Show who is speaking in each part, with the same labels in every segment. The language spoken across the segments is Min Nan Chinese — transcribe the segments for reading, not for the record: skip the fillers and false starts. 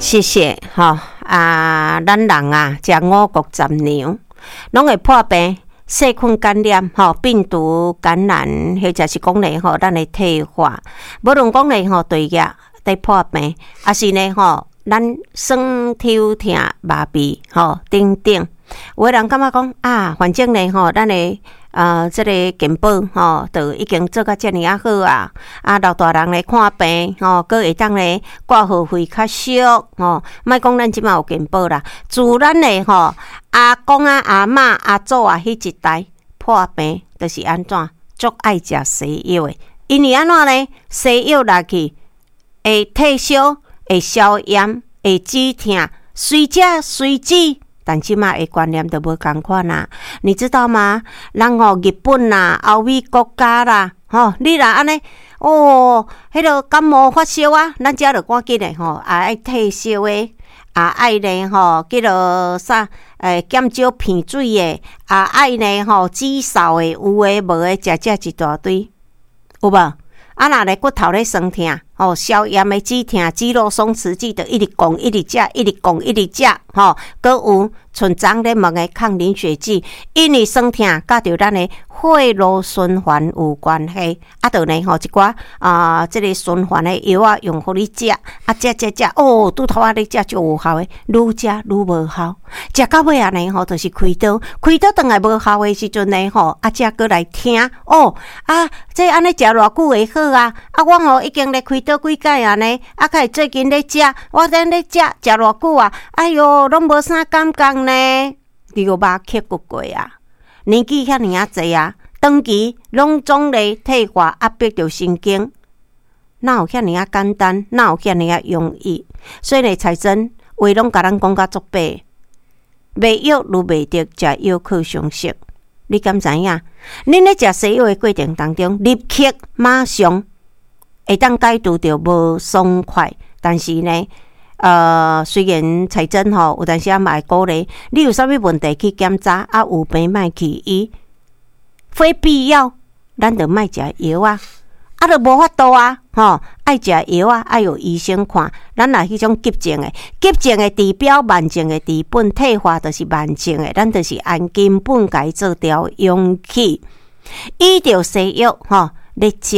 Speaker 1: 謝謝吼啊！咱人啊，食五穀雜糧，攏會破病、細菌感染、吼病毒感染，或者是講咧吼，咱的退化，無論講咧吼，唾液佇破病，抑是呢吼，咱酸抽疼、麻痹吼等等。有的人感覺講啊，反正呢吼，咱的這个健保吼，都已經做甲遮爾仔好啊！啊，老大人來看病吼，閣會當咧掛號費較俗吼。莫講咱這馬有健保啦，自咱的吼阿公啊、阿嬤、阿祖啊彼一代破病，就是按怎足愛食西藥的，因為按怎呢？西藥落去會退燒、會消炎、會止疼，隨食隨止。但這馬的觀念都無仝款啦，你知道嗎？人吼日本啦、歐美國家啦，吼，你若按呢，哦，彼个感冒發燒啊，咱遮就趕緊的吼，也愛退燒的，也愛呢吼，叫做啥？減少鼻水的，也愛呢吼，止嗽的，有的無的，食食一大堆，有無？啊，若咧骨頭咧酸疼，吼，消炎的止疼、肌肉鬆弛劑，就一直講，一直食，一直講，一直食，吼，閣有像昨咧問的抗凝血劑，因為酸疼佮著咱的血路循環有關係，啊，就呢吼一寡啊，這个循環的藥仔用予你食，啊，食食食，哦，拄頭仔咧食足有效的，愈食愈無效，食到尾仔呢吼，就是開刀，開刀轉來無效的時陣呢吼，啊，才閣來聽，哦，啊，這按呢食偌久會好啊？啊，我吼已經咧開刀幾擺啊呢，啊，較會最近咧食，我等咧食食偌久啊？哎喲，攏無啥感覺呢，你有捌克服過啊？年紀遐爾仔濟啊，長期攏總咧退化壓迫著神經，哪有遐爾仔簡單？哪有遐爾仔容易？所以呢，彩珍話攏共咱講甲足白，賣藥愈袂得，食藥靠常識。你敢知影？恁咧食西藥的過程當中，立刻馬上會當解除著無爽快，但是呢，雖然彩珍吼有當時仔嘛會鼓勵你有啥物問題去檢查，啊有病莫去醫，非必要，咱就莫食藥啊，啊，就無法度啊，吼，愛食藥啊，愛有醫生看。咱若彼種急症的，急症的治標，慢症的治本，退化就是慢症的，咱就是按根本共伊做調養去。依著西藥吼咧食，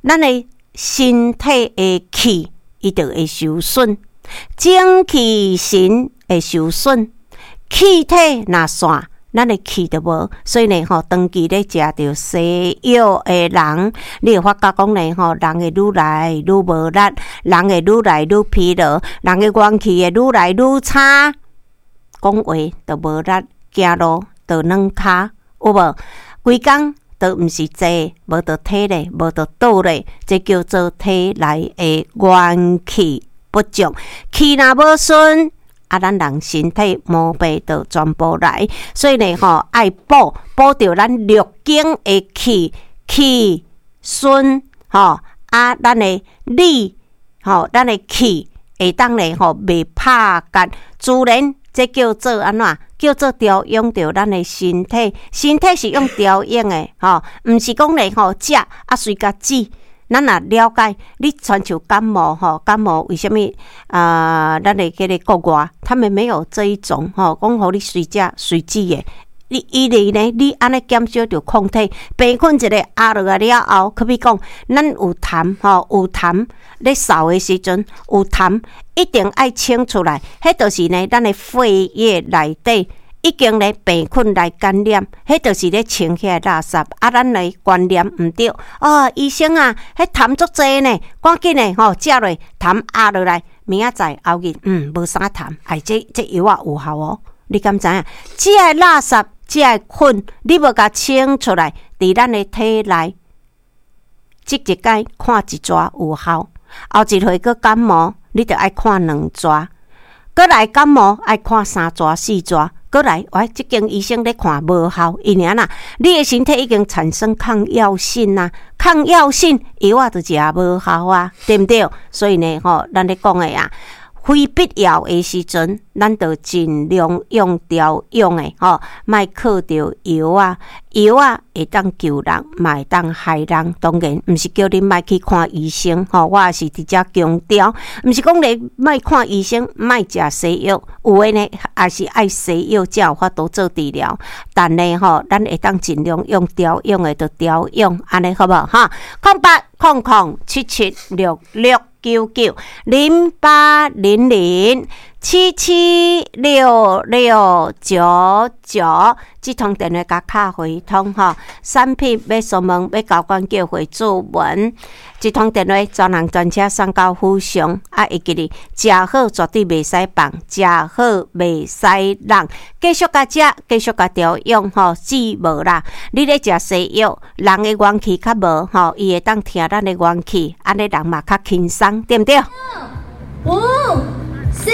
Speaker 1: 咱的身體的氣伊就會受損。精氣神會受損，氣體若散，咱的氣就無。所以呢吼，長期咧食著西藥的人，你會發覺講呢吼，人會愈來愈無力，人會愈來愈疲勞，人的元氣會愈來愈差，講話就無力，行路就軟跤，有無？規工都毋是坐，無就體咧，無就倒咧，這叫做體內的元氣不足，氣若無順，啊，咱人身體毛病就全部來。所以呢，吼，愛補補著咱六經的氣，氣順，吼，啊，咱的理，吼，咱的氣會當咧，吼，袂拍結，自然這叫做按怎？叫做調養著咱的身體，身體是用調養的，吼，毋是講咧，吼，食啊隨共止。咱若了解，你親像感冒吼，感冒為啥物啊？咱的這个國外，他們沒有這一種吼，講予你隨食隨止的。你伊咧呢？你按呢減少著抗體，病菌一个壓落來了後，可比講，咱有痰吼，有痰咧嗽的時陣有痰，一定愛清出來。彼就是呢，咱的血液內底已經咧病菌來感染，彼就是咧清彼个垃圾。啊，咱的觀念毋對。哦，醫生啊，彼痰足濟呢，趕緊的吼，食落痰壓落來，明仔載後日，無啥痰。哎，這藥仔有效哦。你敢知影？這个垃圾，這个菌，你無共清出來，佇咱的體內，這一擺看一逝有效，後一回閣感冒，你著愛看兩逝，閣來感冒愛看三逝四逝。閣來，喂，這間醫生咧看無效，因為按怎？你的身體已經產生抗藥性啊，抗藥性藥仔就食無效啊，對毋對？所以呢，吼，咱咧講的啊，非必要的時陣，咱就盡量用調養的吼，莫靠著藥仔，藥仔會當救人，嘛會當害人。當然，毋是叫恁莫去看醫生吼，我也是佇遮強調，毋是講你莫看醫生，莫食西藥，有的呢，也是愛西藥才有法度做治療。但呢吼，咱會當盡量用調養的，就調養，按呢好無哈？0800776699，0800776699，這通電話共敲回通吼。產品欲詢問，欲交關叫會注文，這通電話專人專車送到府上。啊，會記得食好絕對袂使放，食好袂使浪，繼續共食，繼續共調養吼，治無啦。你咧食西藥，人的元氣較無吼，伊會當疼咱的元氣，按呢人嘛較輕鬆，對毋對？
Speaker 2: 五、四。